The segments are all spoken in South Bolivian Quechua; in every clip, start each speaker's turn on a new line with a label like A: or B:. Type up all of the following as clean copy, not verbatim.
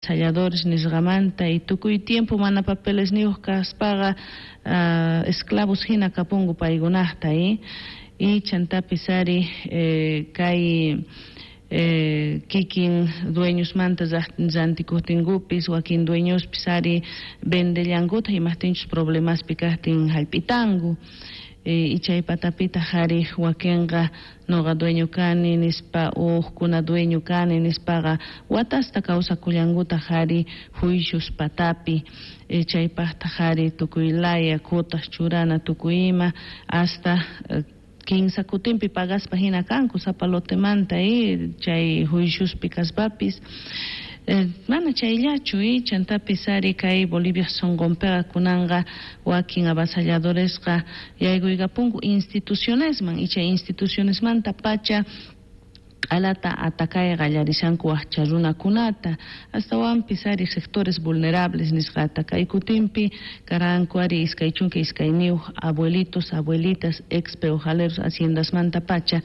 A: Avasalladores nisqamanta y tukuy tiempo mana papelesniyuq kaspaqa esclavos hina kapunku paykunaqta y chantapis ari kay kikin dueñosmanta rantikuqtinkupis wakin dueñospis ari vendellankutaq imaqtinchus problemaspi kaqtin hallp'itanku y chay patapitaq ari wakinqa noqa dueño kani nispa uqkuna dueño kani nispaqa watasta kawsakullankutaq ari juicios patapi chaypaqtaq ari tukuy laya cuotas churana tukuy ima hasta kinsa kutinpi pagaspa hina kanku sapa lotemanta chay juiciospi kaspapis mana chayllachu chantapis ari kay Bolivia sunqunpiqa kunanqa wakin avasalladoresqa yaykuykapunku institucionesman y chay institucionesmanta pacha q'alata atakay qallarishanku waqcha runakunata astawanpis ari sectores vulnerables nisqata kay kutinpi karanku ari 22 abuelitos, abuelitas, ex peojaleros haciendasmanta pacha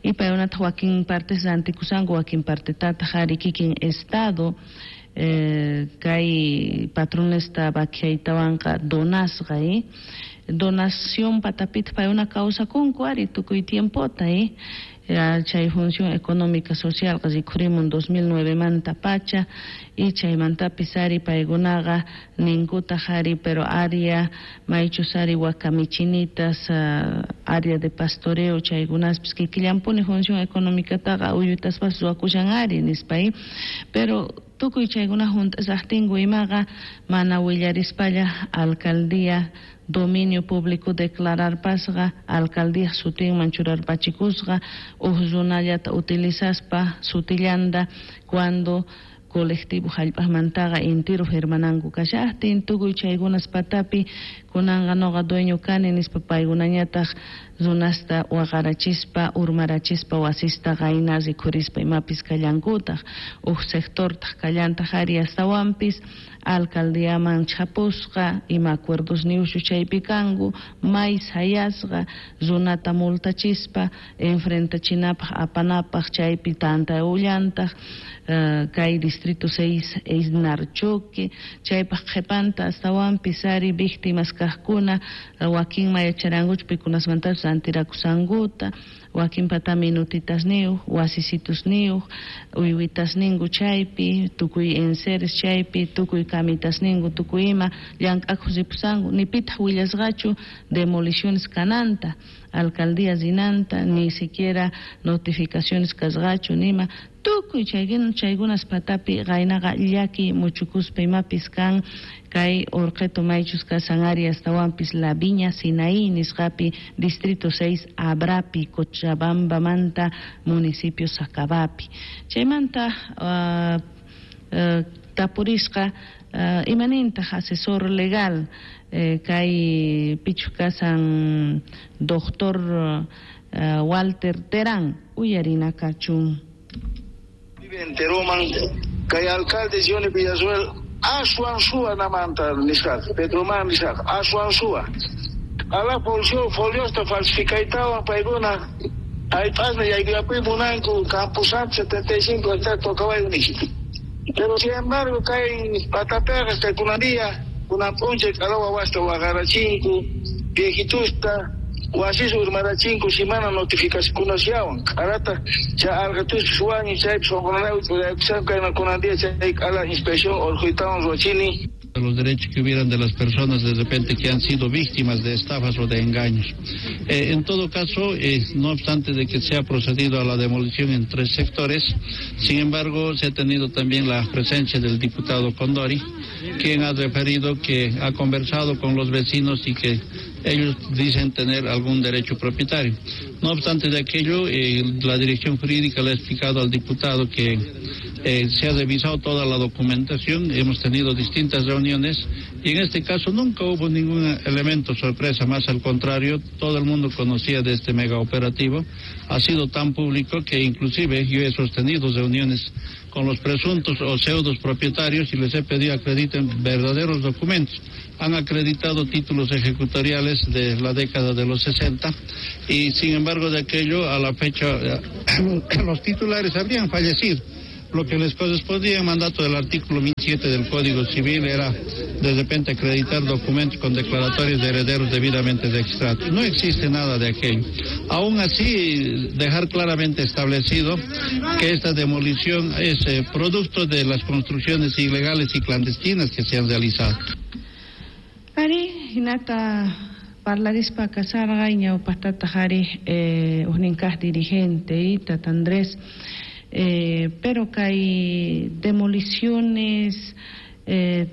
A: y paykunataq wakin partes rantikusanku wakin partetataq ari kikin estado kay patronesta vaquiaytawanqa donasqa donación patapitaq paykuna kawsakunku ari tukuy tiempota chay función económica social rikhurimun 2009 manta pacha y chaymantapis ari paykunaqa ninkutaq ari pero área maychus ari wakamichinitas área de pastoreo chaykunaspis kikillanpuni función económicataqa uyutaspas ruwakushan ari nispa pero tukuy chaykuna hunt'asaqtinku imaqa mana willarispalla alcaldía dominio público declararpasqa alcaldía sutinman churarpachikusqa uj runallata utilizaspa sutillanta cuando colectivo hallp'aqmantaqa intiro firmananku kashaqtin tukuy chaykunas patapi kunanqa noqa dueño kani nispa paykunañataq runasta waqarachispa urmarachispa wasista qayna rikhurispa imapis kallankutaq uj sectortaq kallantaq ari astawanpis alcaldiaman chhapusqa ima acuerdos niushu chaypi kanku may sayasqa runata multachispa enfrentachinapaq apanapaq chaypi tantaullantaq kay distrito 6 Eisnarchoque chaypaq qhipanta astawanpis ari víctimas kaqkuna wakinma yacharankuchu pikunasmantapis rantirakusankuta wakinpata minutitasniyuq wasisitusniyuq uywitasninku chaypi tukuy enseres chaypi tukuy kamitasninku tukuy ima llank'akuq ripusanku ni pitaq willasqachu demoliciones kananta alcaldía rinanta ni siquiera notificaciones kasqachu nima tukuy chaykunas patapi qaynaqa llaki muchukuspa imapis kan kay Orqeto maychus kasan ari astawanpis La Viña Sinaí nisqapi distrito 6 Abrapi Cochabambamanta municipio Sacabapi chaymanta tapurisqa imanintaq asesor legal kay pichu kasan doctor Walter Terán uyarina kachun.
B: Enteroman kay alcalde Johnny Villarruel aswan suwa namanta nisqaqa Petroman nisqaqa aswan suwa ala foliosta falsificaytawan paykuna hallp'asna yaykuyapuy munanku Camposanto 75 hectáreas tocawayku nispa pero sin embargo kay patapiqa kay kunan día kunan p'unchay q'ala wawasta waqarachinku viejitusta wasis urmarachinku si mana notificacionkunasllawan q'alata chay alqituspis wañun chaypis sunqunanayku ch'uraykushanku kayman kunan día chay q'ala inspección urquytawan ruwachini.
C: Los derechos que hubieran de las personas de repente que han sido víctimas de estafas o de engaños. En todo caso, no obstante de que se ha procedido a la demolición en 3 sectores, sin embargo, se ha tenido también la presencia del diputado Condori, quien ha referido que ha conversado con los vecinos y que ellos dicen tener algún derecho propietario. No obstante de aquello, la dirección jurídica le ha explicado al diputado que se ha revisado toda la documentación, hemos tenido distintas reuniones y en este caso nunca hubo ningún elemento sorpresa, más al contrario, todo el mundo conocía de este mega operativo, ha sido tan público que inclusive yo he sostenido reuniones con los presuntos o pseudos propietarios y les he pedido acrediten verdaderos documentos. Han acreditado títulos ejecutoriales de la década de los 60 y sin embargo de aquello a la fecha los titulares habrían fallecido. Lo que les correspondía en mandato del artículo 1007 del Código Civil era de repente acreditar documentos con declaratorias de herederos debidamente registrados. No existe nada de aquello. Aún así, dejar claramente establecido que esta demolición es producto de las construcciones ilegales y clandestinas que se han realizado.
A: Ari, hinata parlarispa kasarqa ñawpaqtataq ari ujnin kaq dirigente Tata Andrés, pero kay demoliciones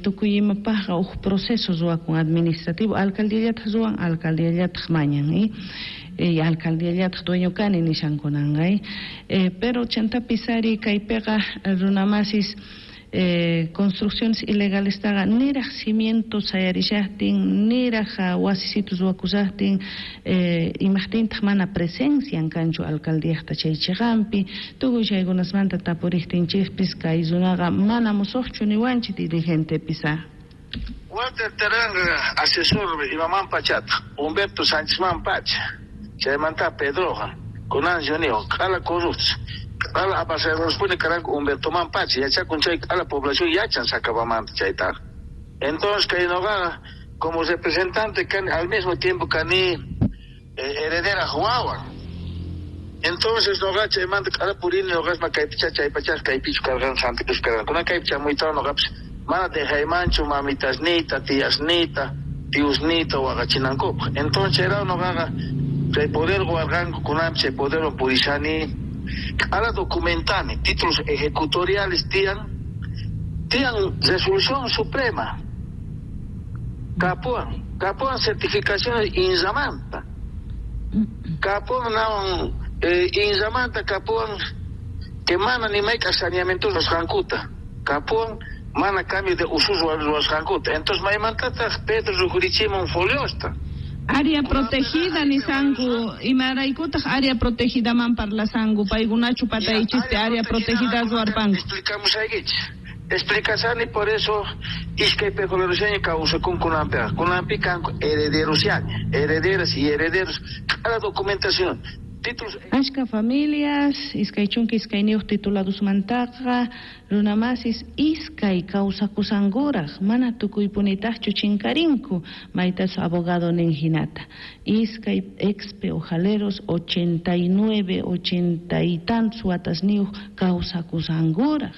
A: tukuy imapaqqa uj proceso ruwakun administrativo, alcaldiallataq ruwan, alcaldiallataq mañan, alcaldiallataq dueño kani nishankunanqa, pero chantapis ari kaypiqa runamasis construcciones ilegales taqa niraq cimientos sayarishaqtin, niraq wasisitus ruwakushaqtin, imaqtintaq mana presencian kanchu alcaldiaqta chay chiqanpi, tukuy chaykunasmanta tapuriqtinchikpis kay runaqa mana musuqchu niwanchik dirigentepis.
B: Walter Terán, asesor imaman pachata, Humberto Sánchez man pacha, chaymanta Pedroja, kunan Jonio, q'ala corruptos. Ala apasaruspuni karanku Humberto man pacha, yachakun chay a la población yachan sacabamanta chaytaqa. Entonces kay noqaqa como representante kani al mismo tiempo kani heredera wawan. Entonces noqa chaymanta q'ala purini noqasma kaypicha chaypachas kaypichu karqan Santa Cruz karqan. Kunan kaypi chamuytawan noqapis mana dejaymanchu mamitasniyta, tiyasniyta, tiusniyta waqachinankupaq. Entonces chayraw noqaqa chay poder warqanku kunanpi chay poderwan purishani. Ahora documentani, títulos ejecutoriales tian resolución suprema, capuan certificaciones inzamanta, capuan nawan inzamanta capuan que mana ni mayka saneamiento ruwasqankuta, capuan mana cambio de usos ruwasqankuta. Entonces maymantataq Pedro rukurichimun foliosta.
A: Área protegida nisanku, imaraykutaq área protegida man parlasanku, paykunachu pataychispi área protegida ruwarpanku.
B: Explicamos aykichik. Explicasani por eso iskay pejolerushaña kawsakun kunanpiqa. Kunanpi kanku herederoshaña, herederas y herederos, cada documentación. Títulos.
A: Ashka familias, iskay chunka iskayniyuq tituladusmantaqa, runamasis iskay kawsakusankuraq, mana tukuypunitaqchu chinkarinku, maytasu abogado nin hinata. Iskay ex peojaleros 89, 80 y tantos watasniyuq kawsakusankuraq.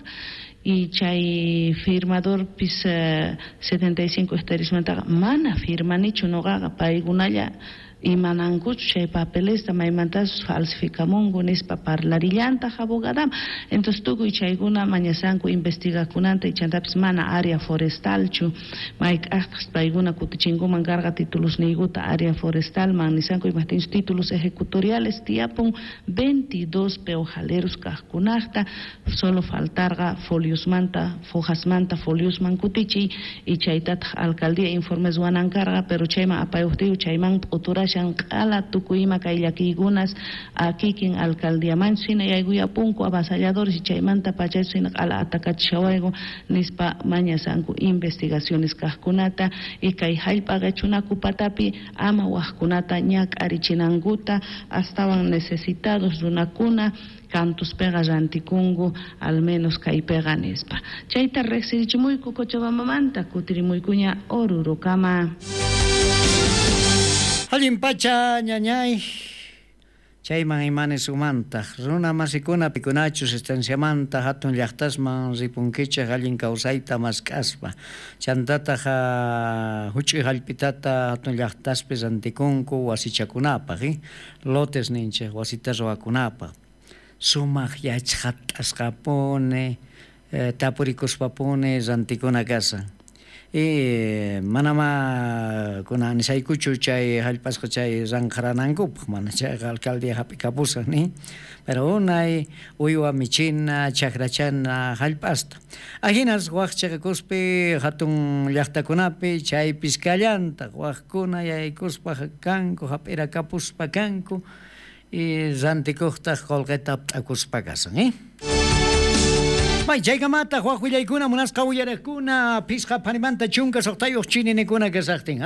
A: Y chay firmador pis 75 hectáreasmantaqa mana firmanichu noqaqa, paykunalla imanankuchu chay papelesta maymantasus falsificamunku nispa parlarillantaq abogadama. Entonces tukuy chaykuna mañasanku investigakunanta y chantapis mana área forestalchu mayk'aqtaq paykuna kutichinkuman karqa titulusniykuta área forestalman nisanku imajtinchus títulos ejecutoriales tiyapun 22 peojaleros kaqkunaqta, solo faltarqa foliosmanta, fojasmanta foliosman kutichiy y chaytataq alcaldía informes ruwanan karqa, pero chayman apayuqtiyu chayman p'uturashan q'ala tukuy ima kay llakiykunas kikin alcaldiamanchu hina yaykuyapunku avasalladores y chaymanta pachachu hina q'ala atakachishawayku nispa mañasanku investigaciones kaqkunata y kay hallp'a qichunaku patapi ama waqkunata ñak'arichinankuta astawan necesitados runakuna kantuspiqa rantikunku al menos kaypiqa nispa. Chayta riqsirichimuyku Cochabambamanta, kutirimuykuña Orurokama.
D: Allin pacha ñañay, chayman imanes umantaq, runa masikuna pikunachus estanciamanta hatun llaqtasman ripunkichaq allin kawsayta mask'aspa, chantataq huch'uy hallp'itata hatun llaqtaspi rantikunku wasichakunapaq, lotes ninchik wasita ruwakunapaq, sumaq yachqatasqapuni, tapurikuspapuni rantikuna kasan. Y manama kunan nisaykuchu chay hallp'asqa chay ranqharanankupaq, mana chayqa alcaldía hap'ikapusan ni, pero unay uywa michina chakrachana hallp'asta. Ahinas waq chiqakuspi hatun llaqtakunapi chaypis kallantaq waqkuna yaykuspa kanku hap'irakapuspa kanku y rantikuqtaq qullqita p'akuspa kasan, May chaykamata waq willaykuna munasqa uyariqkuna phisqa phanimanta chunka suqtayuq chininikuna kasaqtin,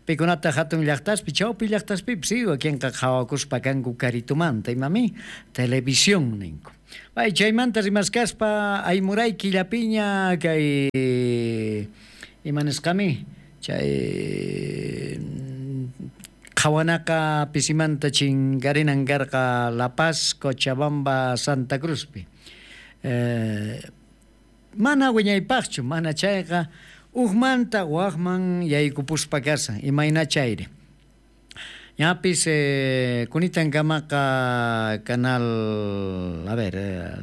D: pikunata hatun llaqtaspi chawpi llaqtaspipis wakinqa qhawakuspa kanku karitumanta imami televisión ninku. Bay chaymanta rimaskaspa aymuray killapiña kay imanisqami chay qhawanaqa pisimanta chinkarinan karqa La Paz, Cochabamba, Santa Cruzpi. Mana wiñaypaqchu, mana chayqa ujmanta wajman yaykupuspa kasan, imayna chayri. Ñapis kunitankamaqa canal, a ver,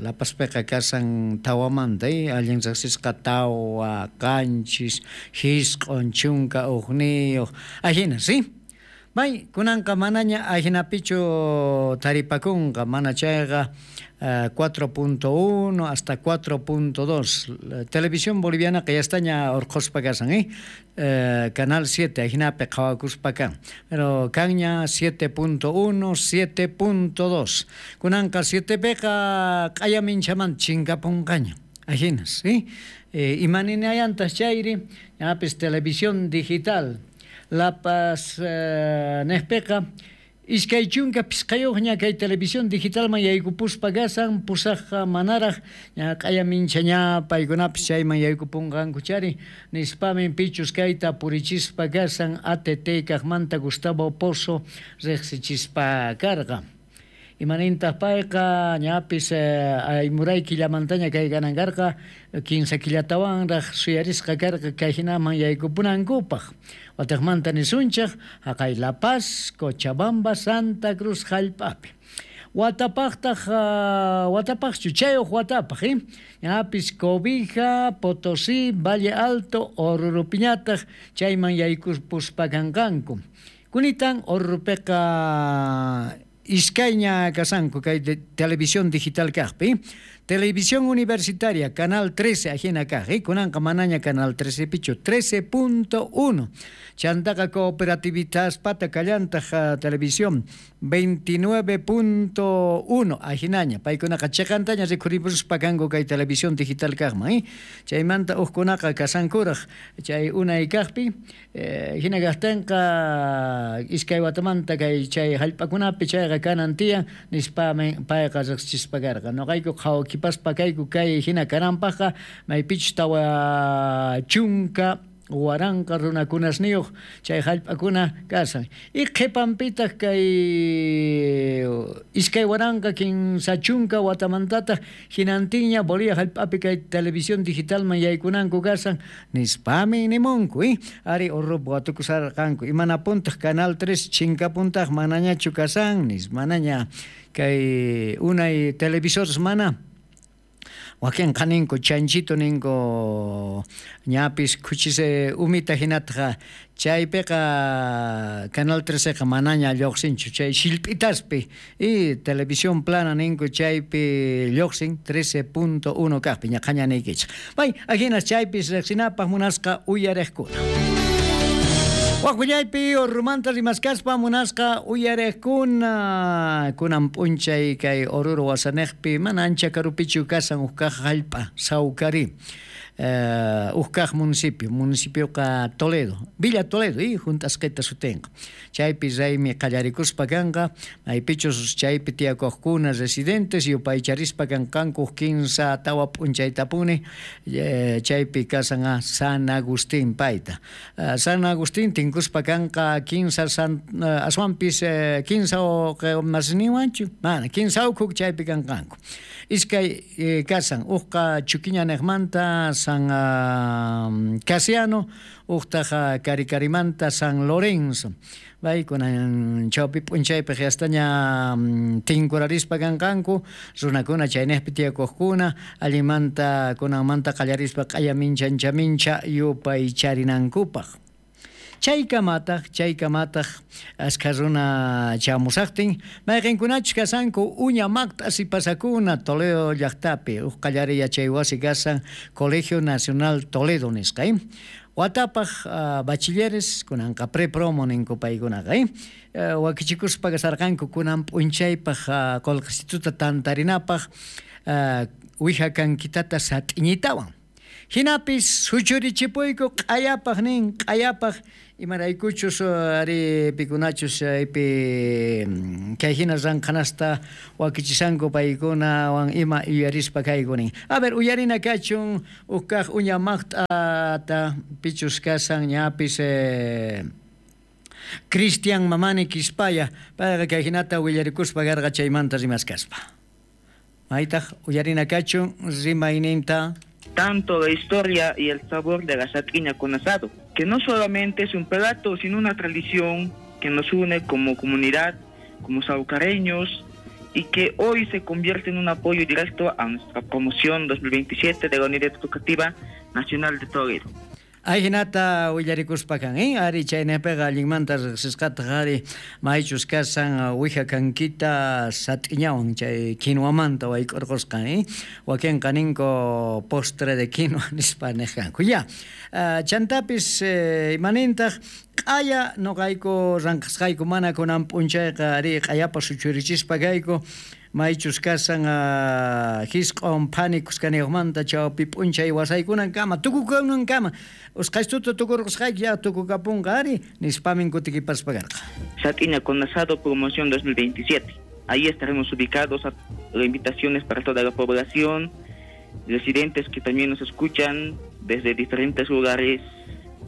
D: La Pazpiqa kasan tawamanta, allin riqsisqa tawa, qanchis, hisq'un, chunka, ujniyuq, ajina, ¿sí? May kunanqa manaña ajinapichu taripakunqa, mana chayqa 4.1 hasta 4.2. Televisión Boliviana ya estaña urqhuspa kasan, Canal 7 ajinapi qhawakuspa kan. Pero kanña 7.1, 7.2. Kunanqa 7piqa q'aya minchaman chinkapunqaña. Ajinas, ¿sí? Imaninayantas chayri, ñapis televisión digital. La Paz nejpiqa iskay chunka pisqayuqña kay televisión digitalman yaykupuspa kasan, pusaqqa manaraq ña q'aya mincha ña paykunapis chayman yaykupunqanku chari nispamin pichus kayta purichispa kasan ATT kaqmanta Gustavo Pozo riqsichispa karqa. Imanintaq payqa ñapis aymuray killamantaña kay kanan karqa 15 killatawanraq suyarisqa karqa kay hinaman yaykupunankupaq. Wataqmanta nisunchaq haqay La Paz, Cochabamba, Santa Cruz hallp'api. Watapaqtaq watapaqchu chayuq watapaq, ñapis Cobija, Potosí, Valle Alto, Orurupiñataq chayman yaykupuspa kanqanku. Kunitan Orurupiqa iskayña kasanku kay televisión digital kaqpi. Televisión Universitaria, Canal 13, ajina kaq, kunanqa manaña Canal 13 pichu, 13.1. Chantaqa Cooperativistaspata kallantaq televisión 29.1, ajinaña. Paykunaqa chiqantaña rikhuripuspa kanku kay televisión digital kaqman, Chaymanta uqkunaqa kasankuraq chay unay kaqpi, hina kaqtinqa iskay watamanta kay chay hallp'akunapi chayqa kanan tiyan nispami payqa riqsichispa karqa. Nuqayku qhawakipaspa kayku kay hina kananpaqqa maypichus tawa chunka waranqa runakunasniyuq chay hallp'akuna kasan. Y qhipanpitaq kay 2030 watamantataq hinantinña Bolivia hallp'api kay televisión digitalman yaykunanku kasan nispami nimunku, Ari Ururupi watukusarqanku. Imanapuntaq Canal 3 chinkapuntaq manañachu kasan nis manaña kay unay televisores mana. Wakinqa ninku chanchito ninku ñapis khuchis umita hinataqa chaypiqa Canal 13qa manaña lluqsinchu chay shillp'itaspi y televisión plana ninku chaypi lluqsin 13.1 kaqpi ñaqhaña niykichik. May ajinas chaypis riqsinapaq munasqa uyariqkuna. Waqwillaypi Orurumanta rimaskaspa munasqa uyariqkuna kunan p'unchay kay Oruro wasanejpi mana ancha karupichu kasan uj kaq hallp'a Sawkari. Uj kaq municipio, municipioqa Toledo, Villa Toledo, hunt'asqita sutinqa. Chaypi raymi qallarikuspa kanqa, maypichus chaypi tiyakuqkuna residentes yupaycharispa kanqanku 15 tawa p'unchaytapuni, chaypi kasan San Agustín payta. San Agustín tinkuspa kanqa 15 aswanpis 15 masniwanchu, mana 15 ukhuk chaypi kanqanku. Iskay kasan uqqa Chuquiña niqmanta San Casiano, uqtaqa Karikarimanta San Lorenzo. Bay kunan chawpi p'unchaypi qiastaña tinkurarispa kanqanku runakuna chaynejpi tiyakuqkuna allinmanta kunanmanta qallarispa q'aya mincha mincha yupaycharinankupaq. Chaykamataq askha runa chamusaqtin mayqinkunachus kasanku uña maqt'as pasakuna Toledo llaqtapi uj qallari yachay wasi kasan Colegio Nacional Toledo nisqa. Watapaq bachilleres kunanqa prepromo ninku paykunaqa, wakichikuspa kasarqanku kunan p'unchaypaq qullqisituta tantarinapaq wija kankitata sat'iñitawan. Jinapis suchurichipuyku q'ayapaj nin, q'ayapaj imaraykuchus ari pikunachus chaypi kay hina ranqhanasta wakichisanku paykunawan ima yuyarispa kayku nin. A ver, uyarina kachun uj kaj uña maqt'ata pichus kasan ñapis Cristian Mamani Quispaya, payqa kay hinata willarikuspa karqa chaymanta rimaskaspa. Maytaq uyarina kachun rimayninta.
E: Tanto la historia y el sabor de la satiña con asado, que no solamente es un plato, sino una tradición que nos une como comunidad, como saucareños, y que hoy se convierte en un apoyo directo a nuestra promoción 2027 de la Unidad Educativa Nacional de Toledo.
D: Ajinata willarikuspa kan, ari chaynaypiqa allinmanta riqsisqataq ari maychus kasan wija kankita sat'iñawan chay quinoamanta wayk'urqusqan, wakinqa ninku postre de quinoa nispa niqkanku. Ya, chantapis imanintaq q'aya noqayku ranqasqayku mana kunan p'unchayqa ari q'ayapa suchurichispa kayku maychus kasan jisq'on phani kuskaniyuqmanta chawpi p'unchay wasaykunankama tukukunankama usqhaystuta tukurqusqayki ya tukukapunqa ari nispamin kutikipaspa karqa.
E: Satiña con asado promoción 2027. Ahí estaremos ubicados a invitaciones para toda la población, residentes que también nos escuchan desde diferentes lugares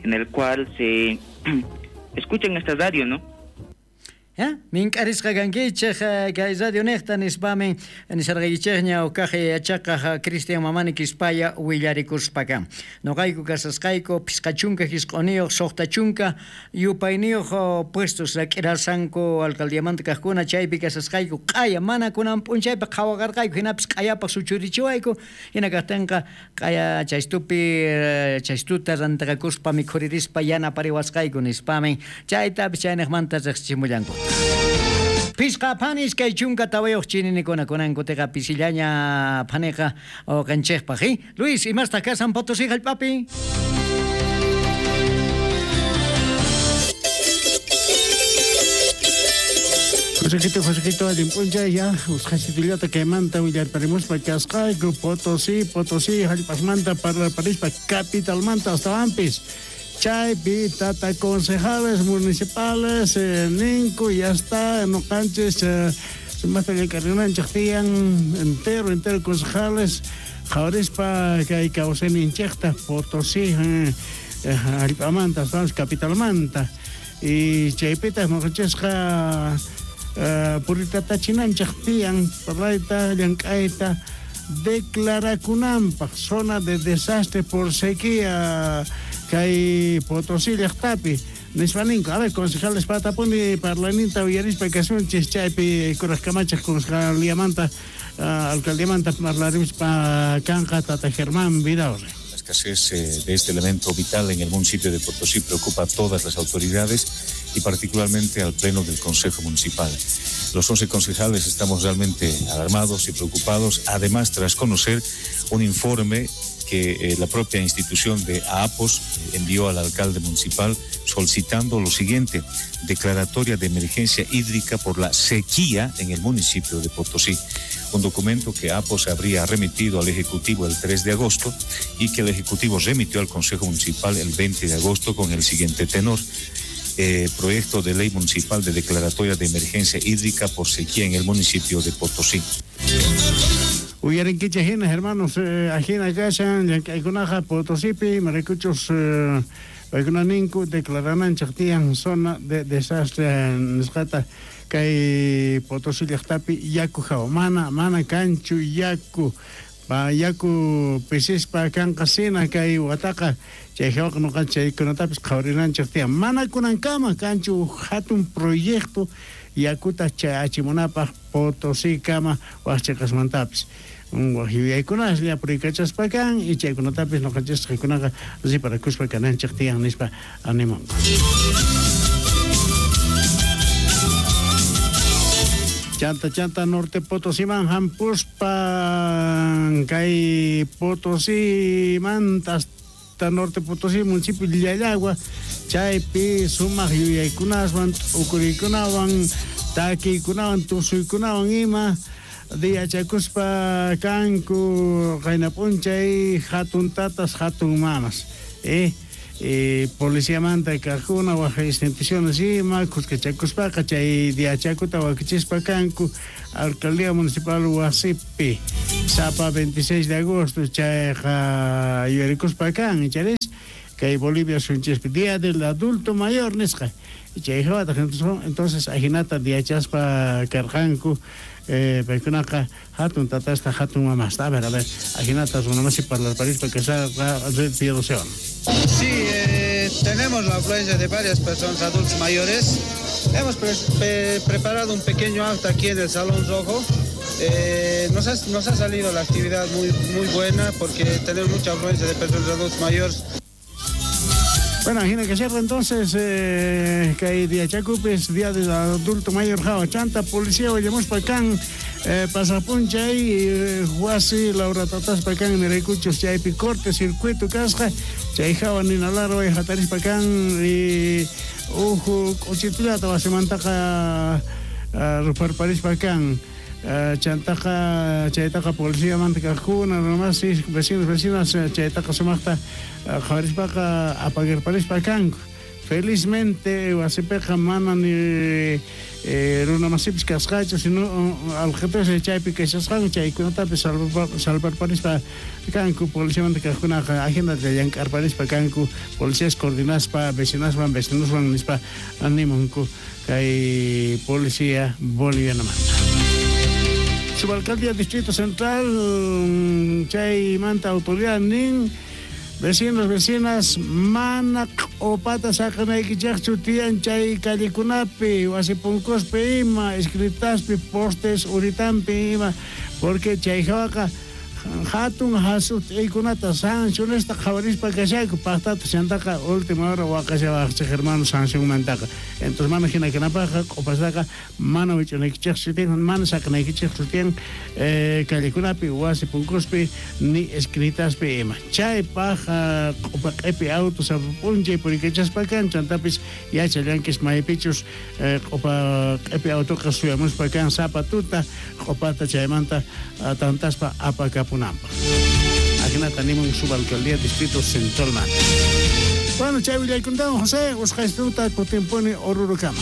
E: en el cual se escuchan esta radio, ¿no?
D: Mink'arisqa kankichej kay radio niqta nispamin nisarqaykichejña uqkaq yachaqaj Cristian Mamani Quispaya willarikuspa kan. Noqayku kasasqayku 59 6 yupayniyuq puestos rak'irasanku alcaldiamanta kaqkuna chaypi kasasqayku q'aya mana kunan p'unchaypi qhawaqarqayku hinapis q'ayapaq suchurichiwayku hina kaqtinqa q'aya chaystupi chaystuta rantaqakuspa mikhuririspa yanapariwasqayku nispamin chaytapis chayniqmanta riqsichimullanku. Pisqa phani iskay chunka tawayuq chininikuna kunankutiqa pisillaña phaniqa uqanchikpaq. Luis, imastaq kasan Potosí hallp'api?
F: Josequito, Josequito, allin p'unchay ya usqhasitullata kaymanta willarparimuspa kasqayku Potosí, Potosí hallp'asmanta parlarparispa capitalmanta astawanpis. Chaypi tata concejales municipales ninku ya está noqanchis sumaqta llank'arinanchik tiyan entero entero concejales qhawarispa kay kawsayninchikta Potosí hallp'amanta astawanpis capitalmanta y chaypitaq noqanchisqa puritatachinanchik tiyan parlayta llank'ayta declarakunanpaq zona de desastre por sequía kay Potosí llaqtapi nispa ninku. A ver, concejales patapuni parlaninta uyarispa kasunchis chaypi kuraj kamachej concejaliamanta alcaldiamanta parlarimuspa kanqa tata Germán Vidaurre.
G: La escasez de este elemento vital en el municipio de Potosí preocupa a todas las autoridades y particularmente al Pleno del Consejo Municipal. Los 11 concejales estamos realmente alarmados y preocupados, además tras conocer un informe que la propia institución de AAPOS envió al alcalde municipal solicitando lo siguiente: declaratoria de emergencia hídrica por la sequía en el municipio de Potosí. Un documento que AAPOS habría remitido al Ejecutivo el 3 de agosto y que el Ejecutivo remitió al Consejo Municipal el 20 de agosto con el siguiente tenor. Proyecto de ley municipal de declaratoria de emergencia hídrica por sequía en el municipio de Potosí.
F: Uyarinkichej hina hermanos, ajina kashan llank'aykunaqa Potosípi maraykuchus paykuna ninku declarananchik tiyan zona de desastre nisqata kay Potosí llaqtapi yaku hawa mana kanchu yaku yaku pisispa kanqa sina kay wataqa chay hawaqa noqanchik chaykunatapis qhawarinanchik tiyan mana kunankama kanchu hatun proyecto yakuta chayachimunapaq Potosí kama waqchiqasmantapis waq yuyaykunaslla puriykachaspa kan y chaykunatapis noqanchisqakunaqa riparakuspa kananchik tiyan nispa animanku. Chanta chanta norte Potosíman hampuspa kay Potosímanta hasta norte Potosí municipio Llallagua chaypi sumaq yuyaykunaswan t'ukuriykunawan takiykunawan tusuykunawan ima Diachakuspa kanku qayna p'unchay hatun tatas hatun mamas policiamanta kajkuna waj instituciones ima khuskachakuspaqa chay diachakuta wakichispa kanku alcaldía municipal wasipi sapa 26 de agosto chayqa yuyarikuspa kan icharis kay Bolivia sunchispi Día del Adulto Mayor nisqa chay hawataq entonces ajinata diachaspa karqanku paykunaqa hatun tatasta hatun mamasta. A ver, ajinata runamasi parlarparispa kasarqa Red Piedra.
H: Sí, tenemos la afluencia de varias personas adultos mayores. Hemos preparado un pequeño acto aquí en el Salón Rojo. Nos ha salido la actividad muy, muy buena porque tenemos mucha afluencia de personas adultos mayores.
F: Bueno, ajina que cierra entonces kay día chacupes, día del adulto mayor jawa chanta, policía wallamuspa kan pasapunchay wasi Laura tataspa kan niraykuchus chaypi corte circuito kasqa chay jawa ninalarway hatarispa kan uju k'uchitullata wasimantaqa ruparparispa kan chantaqa chaytaqa policiamanta kajkuna runamasi vecinos vecinas chaytaqa sumaqta qhawarispaqa apagarparispa kanku. Felizmente wasipiqa mana ni runamasipis kasqachu sino alqetus chaypi kashasqanku chaykunatapis salvarparispa kanku policiamanta kajkunaqa ajinata llank'arparispa kanku policías coordinaspa vecinaswan vecinoswan nispa animunku kay policía bolivianamanta. Subalcaldía Distrito Central, chaymanta autoridad nin, vecinos, vecinas, mana q'upata saqanaykichaqchu tiyan chay callekunapi, wasi punkuspi ima, escritaspi, postes uritampi ima, porque chay hawaqa hatun hasut'iykunata sancionesta qhawarispa kashayku paqtata chantaqa última hora waqashawaqchik hermano sancionmantaqa. Entonces mana hina kanapaqqa q'upastaqa mana wich'unaykichikchu tiyan, mana saqanaykichikchu tiyan callekunapi wasi punkuspi ni escritaspi ima. Chaypaq q'upa q'ipi auto sapa p'unchay purikachaspa kan chantapis yachallankis maypichus q'upa q'ipi autoqa suyamuspa kan sapa tuta q'upata chaymanta tantaspa apakapunanpaq. Ajinata nimun subalcaldía Distrito Central manta. Bueno, chay willaykuntawan José, usqaystuta kutimpuni Orurukama.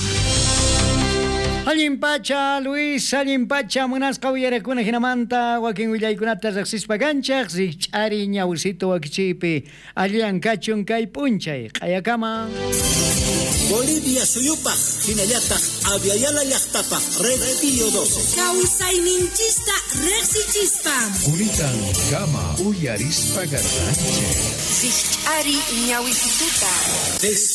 D: Allin pacha, Luis, allin pacha, munasqa uyarakuna hinamanta wakin willaykunata riqsispa kanchaq, rikch'ari ñawisito wakichiypi, allan kachun kay p'unchay, q'ayakama.
I: Bolivia suyupaq, hinallataq Aviala llaqtapaq, Red Pío 12.
J: Kawsayninchista riqsichispa.
K: Kunitan kama uyarispa garranchik.
J: Rikch'ari ñawisituta.